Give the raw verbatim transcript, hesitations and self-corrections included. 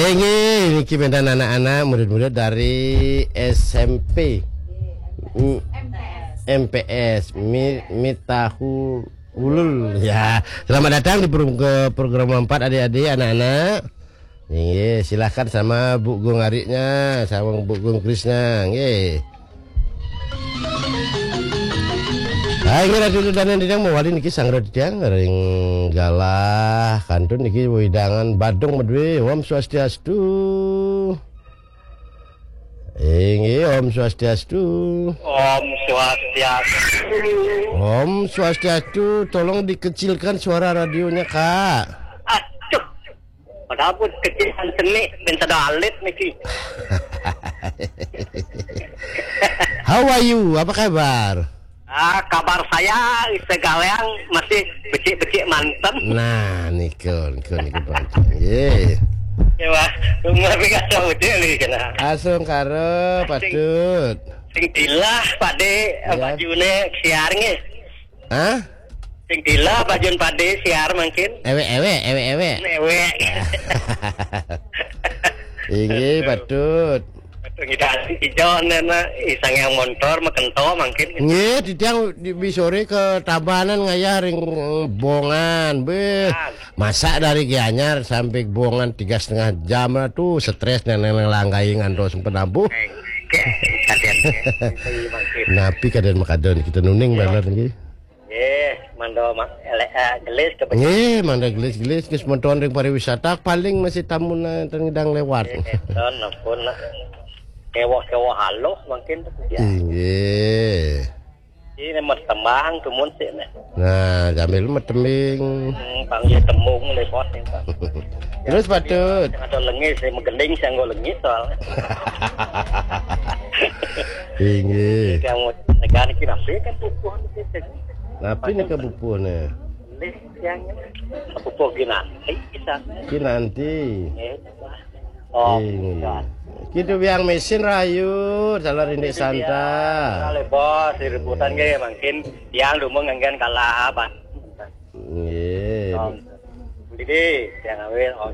Inggih, niki wénten anak-anak, murid-murid dari S M P. M-, M P S, Mi-, Mitahul Ulul. Ya, selamat datang di pro-, ke program empat, adik-adik, anak-anak. Inggih, silahkan sama Bu Gung Ariknya, sama Bu Gung Krisnya. Nggih. Ah, inggih, Ratu Danan Dinang mawali niki sang Ratu tiang ring galah kantun niki wewidangan Badung Madwe. Om Swastiastu. Inggih, Om Swastiastu. Om Swastiastu. Om Swastiastu. Tolong dikecilkan suara radionya, Kak. Aduh. Padahal pun kecil kan seni, minta dalit niki. How are you? Apa kabar? Ah, kabar saya segalean masih becik-becik manten. Nah, niku, niku, niku, Pak. Nggih. Ya, Wah, umur kacau betul nih kena. Asung karo, Patut. Sing dilah, Pak De, Ya. Bajune siar nggih. Hah? Sing dilah, bajun Pak De siar mungkin. Ewek, ewek, ewek, ewek. Ewek. Inggih, Patut. Betul, kita ijo nena, isang yang montor, mekento mungkin. Nggih, titiang di, di sore ke Tabanan ngayah ring Bongan. Beh, Kan. Masak dari Gianyar sampai Bongan tiga setengah jam lah tuh, stres neneng langgai ngantos penabuh. Kaden. Napi kaden makadon kita nuning Ya. Bener nggih. Nggih, mando ma-, ele-, eh, gelis ke Nggih, mando gelis-gelis ke semeton ring pariwisata paling masih tamu na tengidang lewat. Nggih, don ampun nak. Kewah-kewah halus mungkin ya. Inggih. Ini mas tembang tumun sih nih. Nah, sambil metembing. Hmm, panggil tembung le bos nih, Pak. Terus Patut. Ada lengis, saya menggending, saya nggak lengis soalnya. Inggih. Yang mau negara kita sih kan butuh gitu. Napi nika bubuh ne? Lih yang bubuh ginanti kita. Ginanti. Eh, Oh, Inggih. Kita biang mesin rayu, salah rindik santa. Kali bos, di rebutan ke mungkin yang dulu nganggen kalah apa. Nggih. Jadi, yang awil, oh,